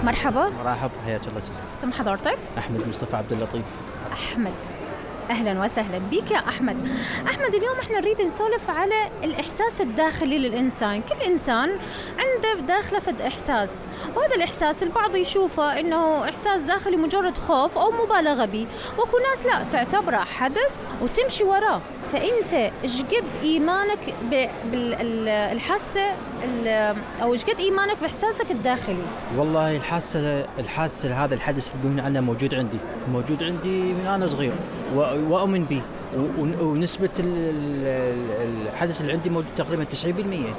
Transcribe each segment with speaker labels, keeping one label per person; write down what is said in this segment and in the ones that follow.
Speaker 1: مرحبا.
Speaker 2: مرحب، حياك الله سيدي.
Speaker 1: اسم حضرتك؟
Speaker 2: احمد مصطفى عبد اللطيف.
Speaker 1: احمد، اهلا وسهلا بك يا احمد. احمد، اليوم احنا نريد نسولف على الاحساس الداخلي للانسان. كل انسان عنده داخله فد احساس، وهذا الاحساس البعض يشوفه انه احساس داخلي مجرد خوف او مبالغه به، واكو ناس لا تعتبره حدث وتمشي وراه. فانت ايش قد ايمانك بالحاسه او ايش قد ايمانك باحساسك الداخلي؟
Speaker 2: والله الحاسه هذا الحدث اللي تقولون عنه موجود عندي من انا صغير، واؤمن به، ونسبه الحدث اللي عندي موجود تقريبا 90%.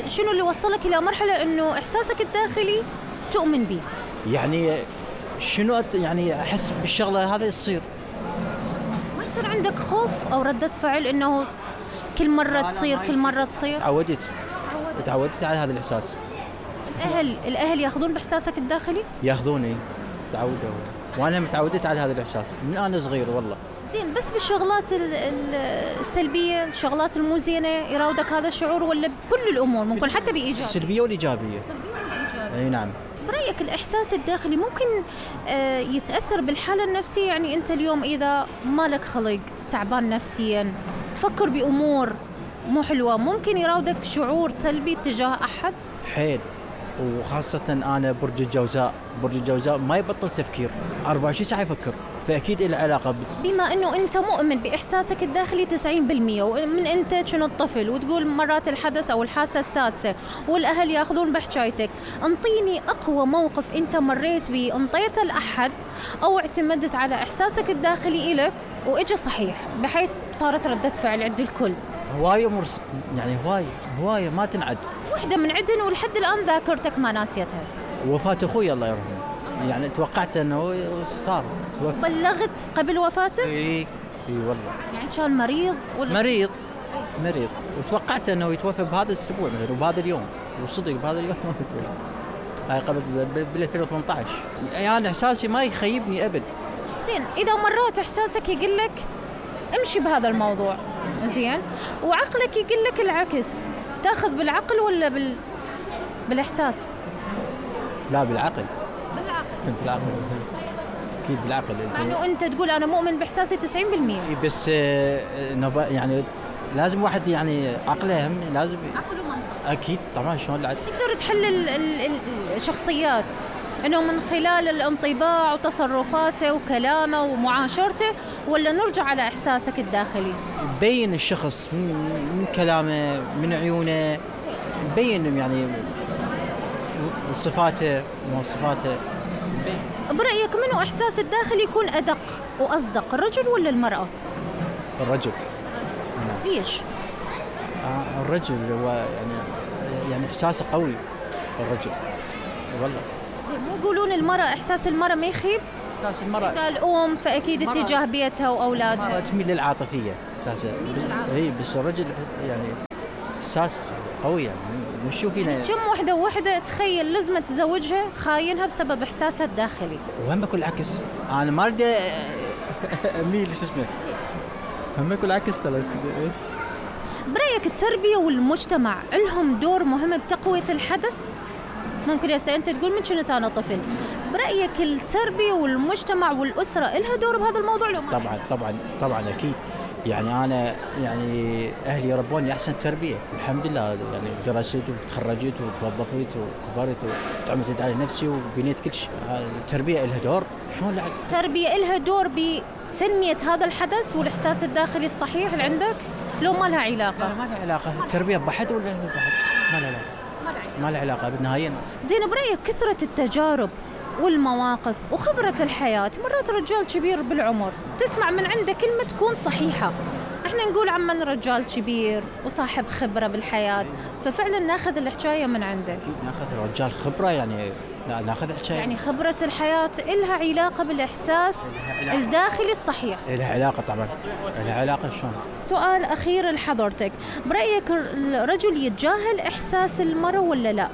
Speaker 1: شنو اللي وصلك الى مرحله انه احساسك الداخلي تؤمن به؟
Speaker 2: يعني شنو يعني احس بالشغله هذا يصير.
Speaker 1: ما يصير عندك خوف او رده فعل انه كل مره تصير؟
Speaker 2: تعودت على هذا الاحساس.
Speaker 1: الاهل ياخذون باحساسك الداخلي؟
Speaker 2: ياخذوني، تعودوا، وانا متعودت على هذا الاحساس من انا صغير والله.
Speaker 1: زين، بس بالشغلات السلبيه، الشغلات المو زينه يراودك هذا الشعور، ولا بكل الامور ممكن حتى بايجابيه؟
Speaker 2: السلبيه والايجابيه. اي نعم.
Speaker 1: برأيك الإحساس الداخلي ممكن يتأثر بالحالة النفسية؟ يعني أنت اليوم إذا مالك خلق، تعبان نفسياً، تفكر بأمور مو حلوة، ممكن يراودك شعور سلبي تجاه أحد؟
Speaker 2: حيل، وخاصة أنا برج الجوزاء ما يبطل تفكير، 24 ساعة يفكر، فأكيد له علاقة
Speaker 1: بما أنه أنت مؤمن بإحساسك الداخلي 90%، ومن أنت كنت طفل وتقول مرات الحدث أو الحاسة السادسة والأهل يأخذون بحجايتك، انطيني أقوى موقف أنت مريت به انطيته لأحد أو اعتمدت على إحساسك الداخلي إلك وإجا صحيح بحيث صارت ردة فعل عند الكل.
Speaker 2: هواية يعني هواية ما تنعد.
Speaker 1: واحدة من عدن ولحد الآن ذاكرتك ما ناسيتها.
Speaker 2: وفاة أخوي الله يرحمه، يعني توقعت أنه صار.
Speaker 1: بلغت قبل وفاته؟
Speaker 2: اي والله.
Speaker 1: يعني كان مريض ولا؟
Speaker 2: مريض، وتوقعت أنه يتوفى بهذا الأسبوع مثلا وبهذا اليوم، وصدق بهذا اليوم ما يتوفى. هاي قبل بال 2018. يعني إحساسي ما يخيبني أبد.
Speaker 1: زين، إذا مرات إحساسك يقول لك امشي بهذا الموضوع، زين، وعقلك يقول لك العكس، تاخذ بالعقل ولا بالإحساس؟
Speaker 2: لا، بالعقل. أكيد بالعقل.
Speaker 1: يعني أنت تقول أنا مؤمن بإحساسي 90%.
Speaker 2: بس يعني لازم واحد يعني عقله هم لازم.
Speaker 1: عقل ومنطق.
Speaker 2: أكيد طبعا. شلون
Speaker 1: تقدر تحلل الشخصيات إنه من خلال الانطباع وتصرفاته وكلامه ومعاشرته، ولا نرجع على إحساسك الداخلي؟
Speaker 2: بين الشخص من كلامه، من عيونه، بين يعني صفاته ومواصفاته.
Speaker 1: برأيك منو إحساس الداخلي يكون أدق وأصدق، الرجل ولا المرأة؟
Speaker 2: الرجل.
Speaker 1: ليش؟
Speaker 2: الرجل هو يعني إحساسه قوي الرجل والله.
Speaker 1: مو يقولون المرأة إحساس المرأة ما يخيب؟
Speaker 2: إحساس المرأة
Speaker 1: إذا الأم فأكيد اتجاه بيتها وأولادها.
Speaker 2: المرأة تميل للعاطفية أساسا. بس الرجل يعني إحساس قوي، يعني مش شوفينا.
Speaker 1: كم وحدة تخيل لازم تزوجها خاينها بسبب إحساسها الداخلي.
Speaker 2: وهم بكل العكس، أنا ما أريد أميل هم بكل العكس ترى.
Speaker 1: برأيك التربية والمجتمع لهم دور مهم بتقوية الحدث؟ ممكن يا أنت تقول من كنت أنا طفل، برأيك التربية والمجتمع والأسرة لها دور بهذا الموضوع لو ما؟
Speaker 2: طبعا أكيد. يعني أنا يعني أهلي ربوني أحسن تربية الحمد لله، يعني درست وتخرجت وتوظفت وكبرت وتعمدت على نفسي وبنيت كل شيء. التربية لها دور. شلون لا؟
Speaker 1: التربية لها دور بتنمية هذا الحدث والإحساس الداخلي الصحيح اللي عندك، لو ما لها علاقة؟
Speaker 2: لا، ما لها علاقة. التربية بحد ولا بحد ما لها علاقة. ما لها علاقة بالنهاية.
Speaker 1: زين، برأيك كثرة التجارب والمواقف وخبرة الحياة، مرات رجال كبير بالعمر تسمع من عنده كلمة تكون صحيحة، احنا نقول عمن رجال كبير وصاحب خبرة بالحياة، ففعلا ناخذ الحكاية من عنده.
Speaker 2: أكيد ناخذ رجال خبرة، يعني ناخذ حكاية.
Speaker 1: يعني خبرة الحياة إلها علاقة بالإحساس الداخلي الصحيح؟
Speaker 2: إلها علاقة طبعا، إلها علاقة. شلون؟
Speaker 1: سؤال أخير لحضرتك، برأيك الرجل يتجاهل إحساس المرأة ولا لا؟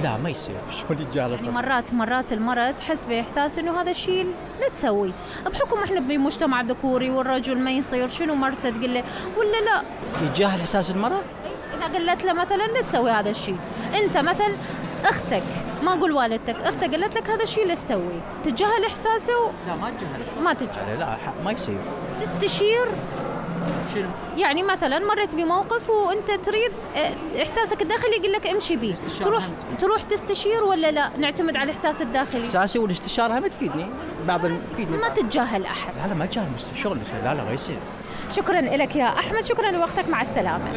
Speaker 2: لا، ما يصير. شلون يتجاهل؟
Speaker 1: يعني مرات المرأة تحس بإحساس إنه هذا الشيء لا تسوي، بحكم إحنا بمجتمع ذكوري والرجل ما يصير، شنو مرته تقول له ولا لا؟
Speaker 2: يتجاهل إحساس المرأة؟
Speaker 1: إذا قلت له مثلا لا تسوي هذا الشيء، أنت مثلا أخت اختك، ما اقول والدتك، اختك قالت لك هذا الشيء اللي تسويه، تتجاهل احساسه
Speaker 2: لا ما اتجاهله.
Speaker 1: ما تتجاهل.
Speaker 2: لا ما يصير.
Speaker 1: تستشير؟
Speaker 2: شنو؟
Speaker 1: يعني مثلا مريت بموقف وانت تريد احساسك الداخلي يقول لك امشي بيه، تروح تستشير ولا لا نعتمد على الاحساس الداخلي؟
Speaker 2: احساسي والاستشاره هم تفيدني، تفيدني.
Speaker 1: ما تتجاهل احد.
Speaker 2: لا ما اتجاهل شغل. لا ما يصير.
Speaker 1: شكرا لك يا احمد، شكرا لوقتك، مع السلامه.